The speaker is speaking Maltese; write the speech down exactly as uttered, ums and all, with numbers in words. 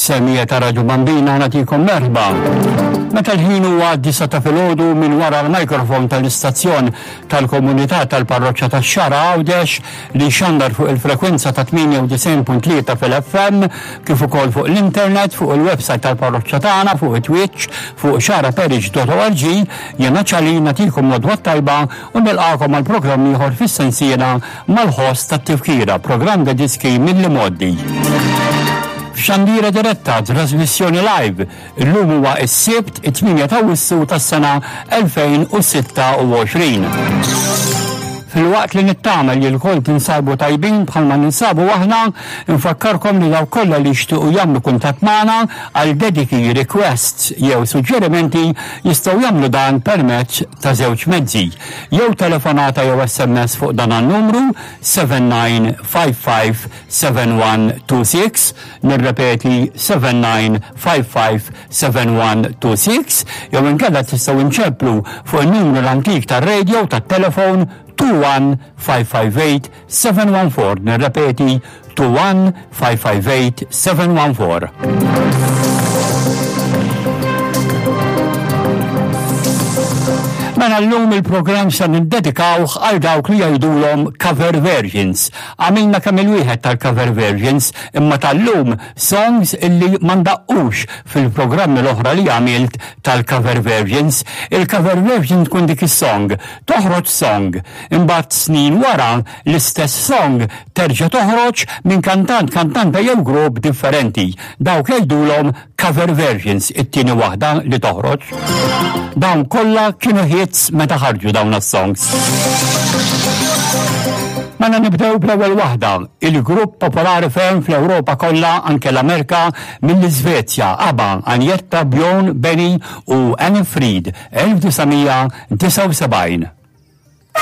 Semmiegħa ta' Radju Bambina, nagħtikom merħba. Meta l-ħin huwa disgħa ta' filgħodu, minn wara l-mikrofon tal-istazzjon tal-komunità tal-parroċċa tax-Xagħra Għawdex li xandar fuq il-frekwenza ta' tmienja u disgħin punt tlieta fil-F M, kif ukoll fuq l-internet, fuq il-website tal-parroċċa tagħna, fuq it-Twitch, fuq xagħraparish punt org, jiena Ċali nagħtikom l-għodwa tajba u nilqakom għal programm ieħor fis-sensiela mal-ħoss tat-tifkira, programm ta' diski mill-imgħoddi. F'xandira diretta, trasmissjoni live, illum huwa s-Sibt it-tmienja ta' Awwissu tas-sena elfejn u sitta u għoxrin. Filwaqt li nittama li lkoll tinsabu tajbin bħalma ninsabu aħna, nfakkarkom li dawk kollha li jixtiequ jagħmlu kuntatt magħna għal dediki, requests jew suġġerimenti jistgħu jagħmlu dan permezz ta' żewġ mezzi. Jew telefonata jew S M S fuq dan numru seba' tnejn ħamsa ħamsa seba' wieħed tnejn sitta, nirrepeti seba' tnejn ħamsa ħamsa seba' wieħed tnejn sitta, jew inkella tistgħu nċemplu fuq il-numru l-antik tar-radio tat-telefon tnejn wieħed ħamsa ħamsa tmien seba' wieħed erba', nirrepeti tnejn wieħed ħamsa ħamsa tmien seba' wieħed erba'. Mela llum il-programm se niddedikawh għal dawk li jgħidulhom cover versions. Għamilna kemm il-wieħed tal-cover versions, imma tal-lum songs illi ma ndaqqux fil-programmi l-oħra li għamilt tal-cover versions. Il-cover version tkun dik is-song, toħroġ song, imbagħad snin wara l-istess song terġa' toħroġ minn kantant, kantanta jew grupp differenti. Dawk jgħidulhom cover versions, it-tieni waħda li toħroġ. Dawn kollha kienu hits meta ħarġu dawn is-songs. Mela nibdew bl-ewwel waħda, il-grupp popolari ferm fl-Ewropa kollha, anke l-Amerika, mill-Iżvezja, ABBA, Agnetha, Bjorn, Benny u Anni-Frid, elf disa' mija disgħa u sebgħin.